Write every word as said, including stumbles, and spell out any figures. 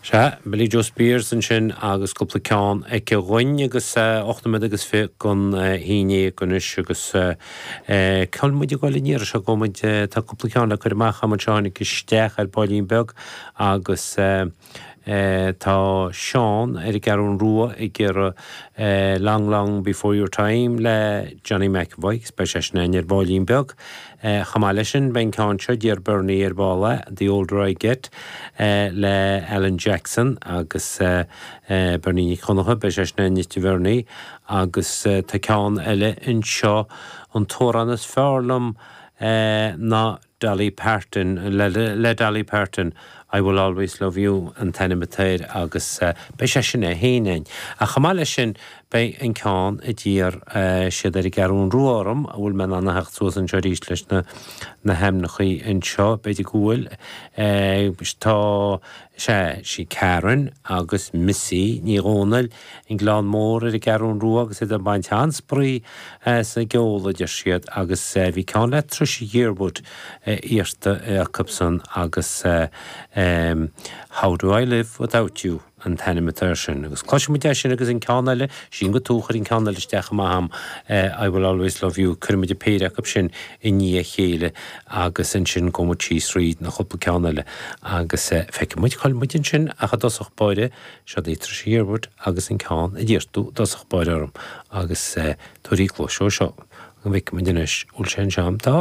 Sea, Billie Jo Spears ansin agus cúpla ceann aici dhúinn agus ocht nóiméad agus fiche don haon déag anois agus cá bhfuil muid ag dul an iarraidh seo go muid tá cúpla ceann le cur amach agam anseo tháinig isteach ar baillín beag agus tá Seán ar an gCeathrú Rua ag iarraidh Long Long Before Your Time le Johnny McEvoy, agus beidh sé sin ar baillín beag. Chomh maith leis sin beidh an ceann seo d'iarr Bernie ar ball é, The Older I Get le Alan Jackson agus Bernie Nic Dhonncha, beidh sé sin anois a Bhernie agus tá ceann eile anseo an t-amhrán is fearr liom ná Dolly Parton le, le Dolly Parton I Will Always Love You an t-ainm atá air agus beidh sé sin é féin againn. Ach chomh maith leis sin beidh an ceann a d'iarr siad ar an gCeathrú Rua orm a bhfuil mé in ann a theacht suas anseo arís leis na na hainmneacha anseo b'fhéidir go bhfuil tá sé sí Karen agus Missy Ní Dhomhnaill an Gleann Mór ar an gCeathrú Rua agus iad ag baint an-spraoi sa gceol a deir siad agus bhí ceann le Trisha Yearwood iarrta acusan agus How Do I Live Without You an t-ainm atá air sin. Agus cloisfimid é sin agus an ceann eile sin go tú chuir an ceann eile isteach amach agam I Will Always Love You cuirfimid an péire acu sin i ndiaidh a chéile agus ansin gabhfaidh muid síos thríd na cúpla ceann eile agus feicfidh muid cá bhfuil muid ansin ach i dtosach báire seo í Trisha Yearwood agus an ceann a d'iarr tú i dtosach báire orm agus tabhair cluas seo seo an bhfeicfidh muid anois bhfuil sé anseo tá.